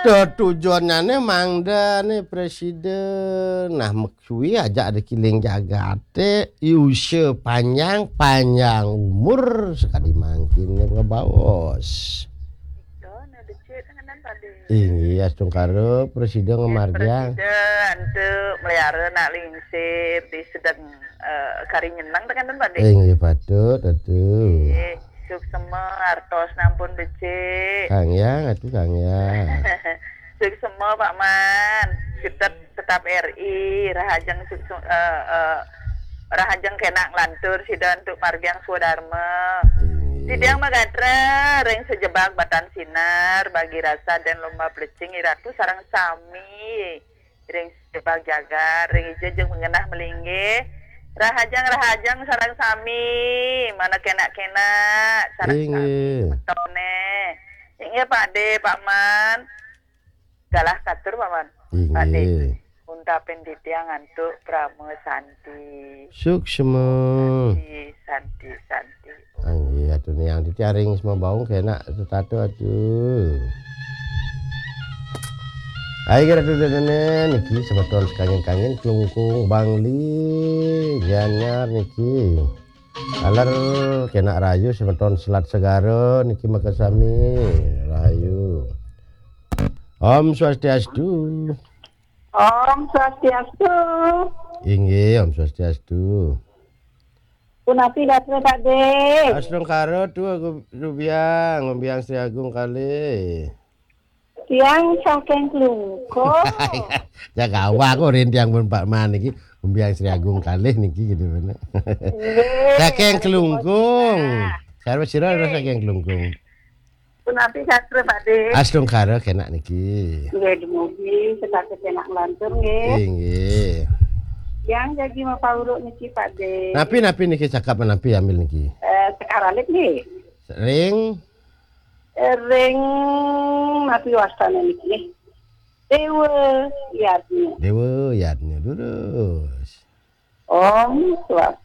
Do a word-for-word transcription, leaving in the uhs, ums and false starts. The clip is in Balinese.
Tetujonnyané mangdané presiden. Nah, meksuwi ajak dék kéling jagaté, usia panjang, panjang umur, sakadi mangkin ngebaos. Inggih, astungkara presiden ngamargiang. Presiden antuk melihara nak lingsir di sedeng, eh, kari nyeneng tekan, Pak Dé. Inggih, patut, atuh. Nggih, suksema artos nampun becik. Kang Yang, atuh Kang Yang. Suksema, Pak Man. Tetap, tetap R I, rahajeng suksema, eh, eh, rahajeng kénak nglantur sida antuk margiang swadarma. Inggih. Titiang magatra ring sajebag batan sinar, bagi rasa dan lomba plecing iratu sareng sami. Ring sajebag jagat, ring ija jeung ngenah malinggih. Rahajeng-rahajeng sareng sami, mana kénak-kénak sareng sami. Inggih. Semetoné. Inggih, Pak Dé, Pak Man. Galah katur, Pak Man. Inggih. Pak Dé. Untapin titiang antuk parama santi. Suksema. Santi, santi, santi. Inggih, atuh niang titiang ring Sema Baung kénak setata atuh. Ayo, Ratu Dénéné, niki semeton sekangin-kangin, Klungkung, Bangli, Gianyar niki. Taler kénak rahayu semeton Selat Segara niki makasami. Rahayu. Om Swastiastu. Om Swastiastu. Inggih, Om Swastiastu. Punapi gatra, Pak Dé? Astungkara, tuh aku Rubiang, Rubiang Sri Agung kalih. Tiang saking Klungkung. Jaga awak kok rin tiang pun Pak Man iki, Rubiang Sri Agung kalih niki gitu bener. Nggih. Saking Klungkung. Sarwa sira adalah saking Klungkung. Punapi gatra, Pak Dé? Astungkara kénak niki. Nggih, dumugi setata kénak nglantur nggih. Inggih. Yang jagi mapauruk niki, Pak Dé. Napi, napi niki cakap napi ambil niki? Eh, sekaralit nggih. Ring? Eh, ring napi wastané niki nggih? Déwa Yadnya. Déwa Yadnya, durus. Om Swastiastu.